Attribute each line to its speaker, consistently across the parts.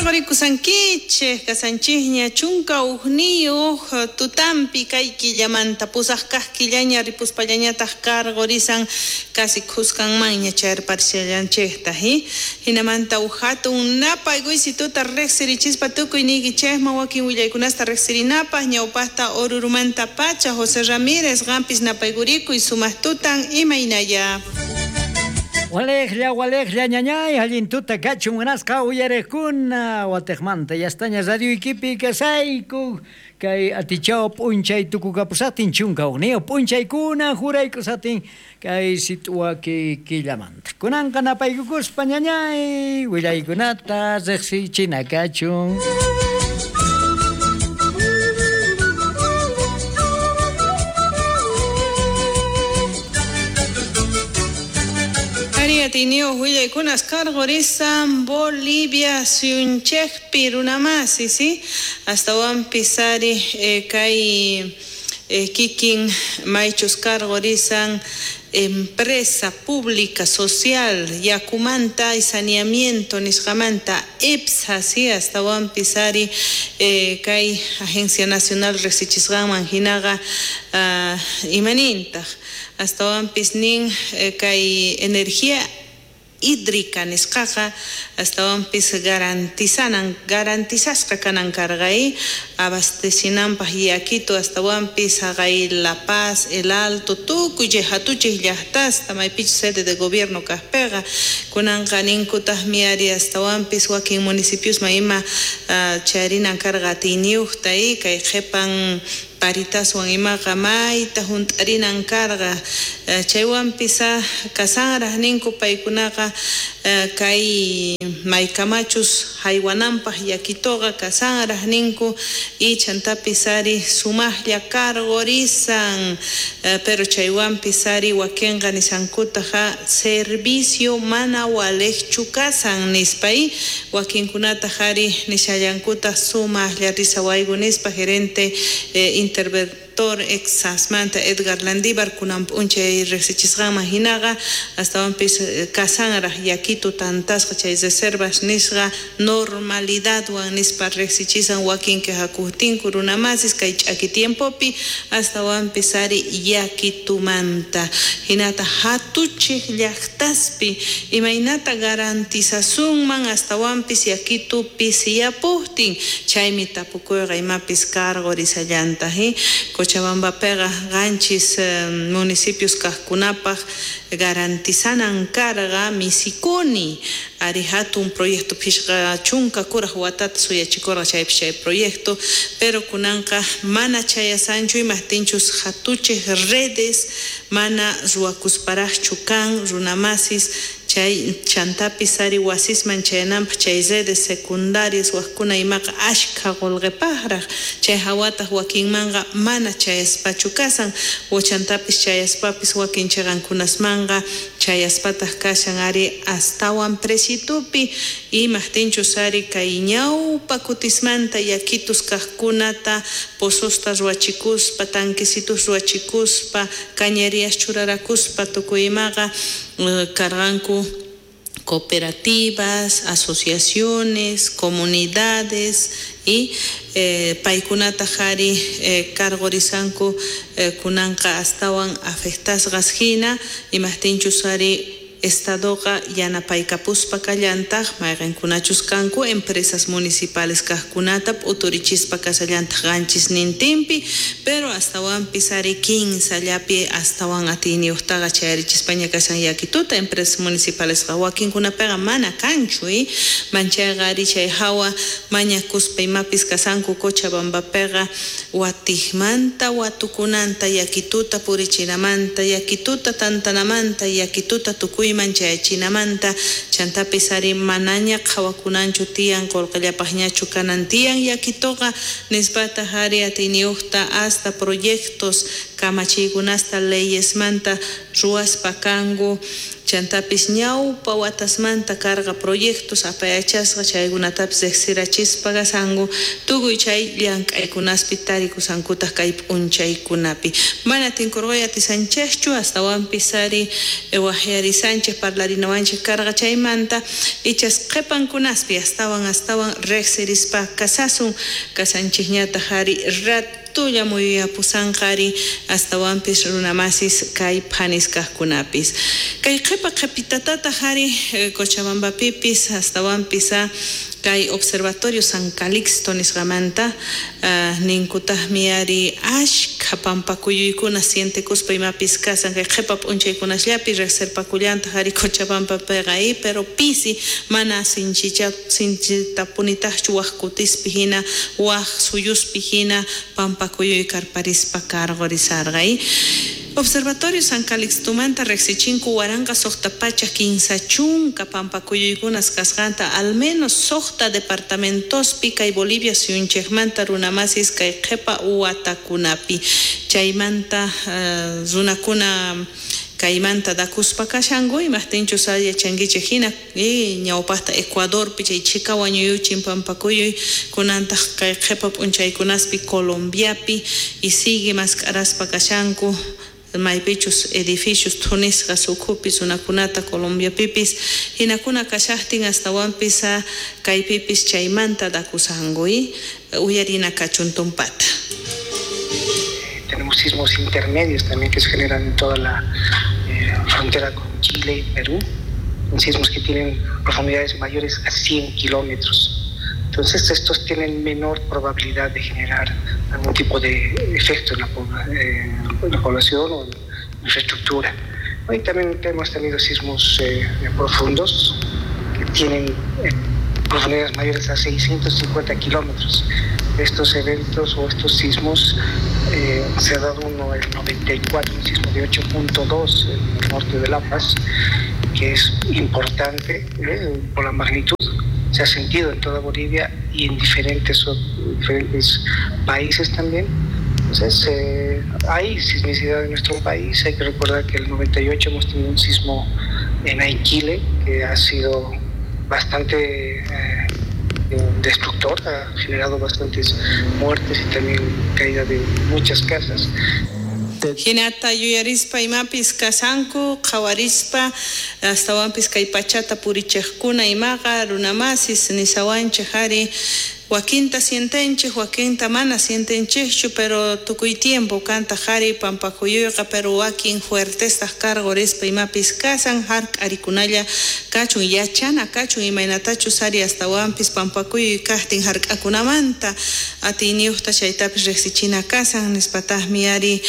Speaker 1: Karqurikusankichik kasanchikña 11 tutampi kay killamanta pusaq kaq killaña ripuspallañataq karqurisan casi khuskanmanña chayarparishallanchikta hinamanta uj hatun napaykuysituta riqsirichispa tukuy niykichikman wakin willaykunasta riqsirinapaq ñawpaqta Orurumanta pacha José Ramírez qampis napaykurikuy sumaq tutan imaynaya.
Speaker 2: Walejlla, walejlla, ñañay, allin tuta kachun munasqa uyariqkuna watiqmanta yastaña radioykipi kasayku kay atichaw p'unchay tukukapusaqtin 11 p'unchaykuna juraykusatin kay sit'uwaki killamanta. Kunanqa napaykukuspa ñañay willaykunata riqsichina kachun.
Speaker 1: Atiyniyuq willaykunas karqurisan Bolivia suyunchikpi runamasi, ¿sí? Astawanpis ari kay kikin maychus karqurisan empresa pública social yakumanta y saneamiento nisqamanta EPSA, ¿sí? Astawanpis ari kay Agencia Nacional riqsichisqanman hinaqa imanintaq astawanpis nin kay energía hídrica nisqaqa astawanpis garantizasqa kanan karqa abastecinanpaq yakitu astawanpis haqay La Paz, El Alto, tukuy chay hatuchik llaqtasta maypichus sede de gobierno kaqpiqa kunanqa ninkutaqmi ari astawanpis wakin municipiosman ima chayarinan karqa atiyniyuqta kay qhipan paritaswan imaqa mayta hunt'arinan karqa chaywanpis kasanraq ninku paykunaqa kay maykamachus haywananpaq yakituqa kasanraq ninku y chantapis ari sumaqlla karqurisan pero chaywanpis ari wakinqa nisankutaqa servicio mana waliqchu kasan nispa y wakinkunataq ari nishallankutaq sumaqlla risawayku nispa gerente interventor exasmanta Edgar Landívar kunan p'unchay riqsichisqanman hinaqa astawanpis kasanraq yakitu tantasqa chay reservas nisqa normalidadwan nispa riqsichisan wakin quejakuqtinku runamasis kay ch'aki tiempopi astawanpis ari yakitumanta hinata hatuchik llaqtaspi imaynata garantizasunman astawanpis yakitu pisiyapuqtin chaymi tapukuyqa imapis karqurisallanta Cochabambapiqa qanchis municipios kaqkunapaq garantizanan karqa misikuni ari hatun proyecto phishqa chunka kuraq watata suyachikurqa chaypis chay proyecto pero kunanqa mana chayasanchu imaqtinchus hatuchik redes mana ruwakusparaqchu kan runamasis chay chantapis ari wasisman chayananpaq chay redes secundarias waqkuna imaqa ashkha qullqipaqraq chay hawataq wakinmanqa mana chayaspachu kasan chantapis chayaspapis wakin chiqankunasmanqa chayaspataq kashan ari astawan presitupi imaqtinchus ari kay ñawpa kutismanta yakitus kaqkunata pozosta ruwachikuspa tanquecitos ruwachikuspa cañerías churarakuspa tukuy imaqa karqanku cooperativas, asociaciones, comunidades y paykunataq ari karqurisanku kunanqa astawan afectasqas hina imaqtinchus ari estadoqa yanapaykapuspa kallantaq mayqinkunachus kanku empresas municipales kaqkunata p'uturichispa kasallantaq qanchisnintinpi pero astawanpis ari kinsallapi astawan atiyniyuqtaqa chayarichispaña kashan yakituta empresas municipalesqa wakinkunapiqa mana kanchu manchayqa ari chay hawa mañakuspa imapis kasanku Cochabambapiqa watiqmanta watukunanta yakituta purichinamanta yakituta tantanamanta yakituta tukuy chayachinamanta chantapis ari manaña qhawakunanchu tiyan qullqillapaqñachu kanan tiyan yakituqa nispataq ari atiyniyuqta hasta proyectos kamachiykunasta leyesmanta ruwaspa kanku Chantapis ñawpa watasmanta karqa proyectos apayachasqa chaykunatapis riqsirachispa kasanku tukuy chay llank'aykunaspi tarikusankutaq kay p'unchaykunapi. Mana tinkurqay atisanchikchu astawanpis ari waqyarisanchik parlarinawanchik karqa chaymanta ichas qhipankunaspi astawan astawan riqsirispa kasasun kasanchikñataq ari ratulla muyuyapusanqa ari astawanpis runamasis kay phanis kaqkunapis. Kay qhipa qhipitatataq ari Cochabambapipis astawanpis kay Observatorio San Calixto nisqamanta ninkutaqmi ari ashkha pampakuyuykuna sientekuspa imapis kasan kay qhipa p'unchaykunasllapi riqsirpakullantaq ari Cochabambapiqa pero pisi mana sinchitapunitaqchu waq kutispi hina waq suyuspi hina pampakuyuy karparispa karqurisarqa. Observatorio San Calixtomanta riqsichinku 1630 pampakuyuykunas kasqanta al menos suqta departamentospi kay Bolivia suyunchikmanta runamasis kay qhipa watakunapi chaymanta runakuna kaymanta dakuspa kashanku imaqtinchus yachankichik hina ñawpaqta Ecuadorpi chay chhika wañuyuchin pampakuyuy kunantaq kay qhipa p'unchaykunaspi Colombiapi y sigue mask'araspa kashanku maypichus edificios thunisqas ukhupi runakunata Colombiapipis hinakuna kashaqtin astawanpis kaypipis chaymanta dakusanku uyarina kachun tumpata.
Speaker 3: Tenemos sismos intermedios también que se generan en toda la frontera con Chile y Perú, son sismos que tienen profundidades mayores a 100 kilómetros. Entonces estos tienen menor probabilidad de generar algún tipo de efecto en la población o en la infraestructura. Y también hemos tenido sismos profundos que tienen profundidades mayores a 650 kilómetros. Estos eventos o estos sismos, se ha dado uno el 94, un sismo de 8.2 en el norte de La Paz, que es importante por la magnitud. Se ha sentido en toda Bolivia y en diferentes países también. Entonces, hay sismicidad en nuestro país. Hay que recordar que en el 98 hemos tenido un sismo en Aiquile que ha sido bastante destructor, ha generado bastantes muertes y también caída de muchas casas.
Speaker 1: Hinata yuyarispa imapis kasanku qhawarispa astawanpis kay pachata purichiqkuna imaqa runamasis nisawanchik ari wakinta sientenchik wakinta mana sientenchikchu pero tukuy tiempo kantaq ari pampakuyuyqa pero wakin fuertestaq karqurispa imapis kasan hark'arikunalla kachun yachana kachun imaynatachus ari astawanpis pampakuyuy kaqtin hark'akunamanta atiyniyuqta chaytapis riqsichina kasan nispataqmi ari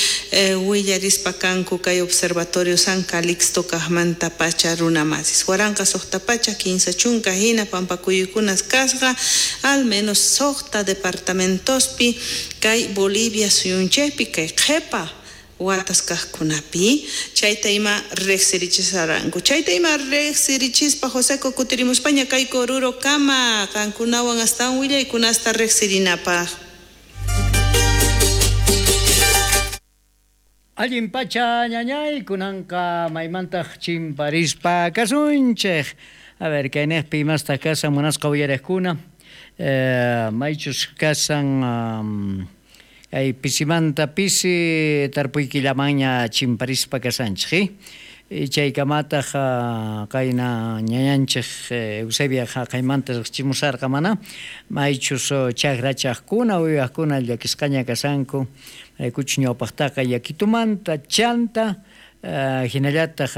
Speaker 1: willarispa kanku kay Observatorio San Calixto kaqmanta pacha runamasis 1630 hina pampakuyuykunas kasqa al menos suqta departamentospi kay Bolivia suyunchikpi kay qhipa watas kaqkunapi chayta ima riqsirichisaranku chayta ima riqsirichispa Joseco kutirimuspaña kay Oruro kama qankunawan astawan willaykunasta riqsirinapaq.
Speaker 2: Allin pacha ñañay kunanqa maymantaq chimparispa kasunchik. A ver kaynejpi imastaq kasan munasqa uyariqkuna maychus kasan kay pisimanta pisi tarpuykillamanña chimparispa kasanchik chaykamataq qayna ñañanchik Eusebia haqaymanta riqchimusarqa mana maychus chakrachaqkuna uywaqkuna llakisqaña kasanku raykuchus ñawpaqtaqa yakitumanta chanta hinallataq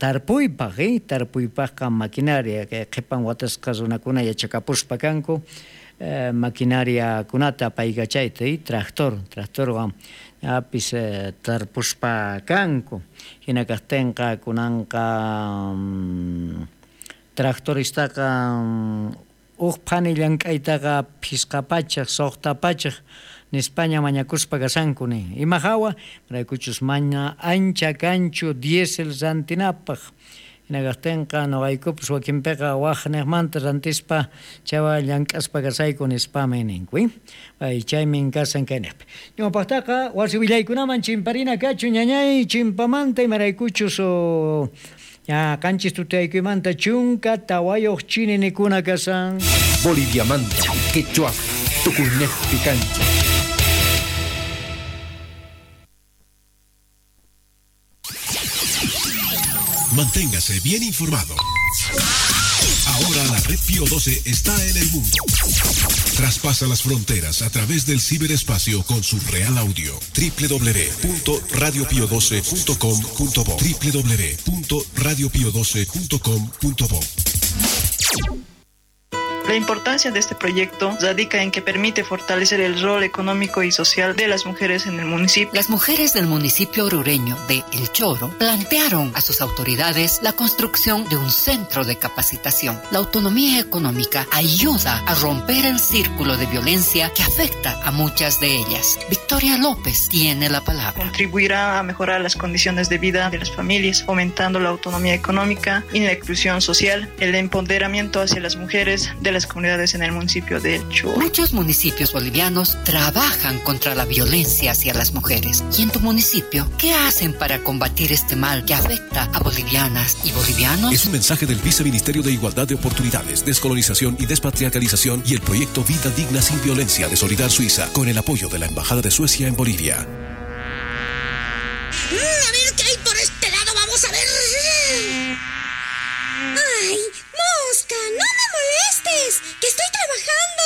Speaker 2: tarpuypaq tarpuypaqqa maquinaria kay qhipan watasqa runakuna yachakapuspa kanku maquinariakunata apaykachayta tractorwan apis tarpuspa kanku hina kaqtinqa kunanqa tractoristaqa uq phani llank'aytaqa 500 600 nispaña mañakuspa kasanku nin ima hawa maraykuchus mana ancha kanchu diésel rantinapaq hina kaqtinqa nuqaykupas wakinpiqa waq niqmanta rantispa chawa llank'aspa kasayku nispami ninku chaymin kasan kayniqpi ñawpaqtaqa wasi willaykunaman chimparina kachun ñañay chimpamanta imaraykuchus Ña qanchis tutaykuymanta 14 chininikuna kasan.
Speaker 4: Boliviamanta, quechua, tukuynejpi kanchik.
Speaker 5: Manténgase bien informado. Ahora la red Pío 12 está en el mundo. Traspasa las fronteras a través del ciberespacio con su real audio. www.radiopio12.com.bo www.radiopio12.com.bo.
Speaker 6: La importancia de este proyecto radica en que permite fortalecer el rol económico y social de las mujeres en el municipio.
Speaker 7: Las mujeres del municipio orureño de El Choro plantearon a sus autoridades la construcción de un centro de capacitación. La autonomía económica ayuda a romper el círculo de violencia que afecta a muchas de ellas. Victoria López tiene la palabra.
Speaker 6: Contribuirá a mejorar las condiciones de vida de las familias, fomentando la autonomía económica y la inclusión social, el empoderamiento hacia las mujeres de las comunidades en el municipio de El Choro.
Speaker 7: Muchos municipios bolivianos trabajan contra la violencia hacia las mujeres. ¿Y en tu municipio qué hacen para combatir este mal que afecta a bolivianas y bolivianos?
Speaker 5: Es un mensaje del Viceministerio de Igualdad de Oportunidades, Descolonización y Despatriarcalización y el proyecto Vida Digna Sin Violencia de Solidar Suiza, con el apoyo de la Embajada de Suecia en Bolivia.
Speaker 8: A ver qué hay por este lado, vamos a ver.
Speaker 9: ¡Ay, mosca! ¡No me molestes! ¡Que estoy trabajando!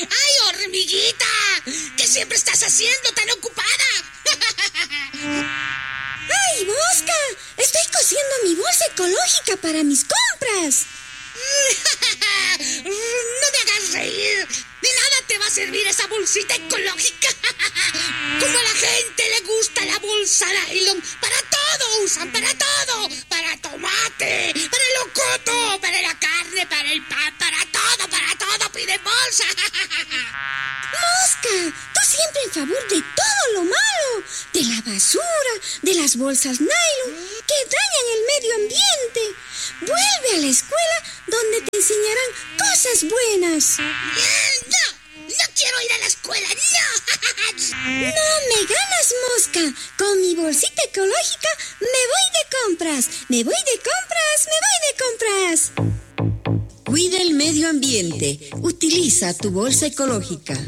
Speaker 8: ¡Ay, hormiguita! ¿Qué siempre estás haciendo tan ocupada?
Speaker 9: ¡Ay, mosca! Estoy cosiendo mi bolsa ecológica para mis compras.
Speaker 8: ¡No me hagas reír! ¡De nada te va a servir esa bolsita ecológica! Como a la gente le gusta la bolsa nylon, para todo usan, para todo. Para tomate, para el locoto, para la carne, para el pan, para todo piden bolsa.
Speaker 9: ¡Mosca! Tú siempre en favor de todo lo malo, de la basura, de las bolsas nylon, que dañan el medio ambiente. Vuelve a la escuela donde te enseñarán cosas buenas.
Speaker 8: ¡No! ¡No quiero ir a la escuela! ¡No!
Speaker 9: ¡No me ganas, mosca! Con mi bolsita ecológica me voy de compras. ¡Me voy de compras! ¡Me voy de compras!
Speaker 10: Cuida el medio ambiente. Utiliza tu bolsa ecológica.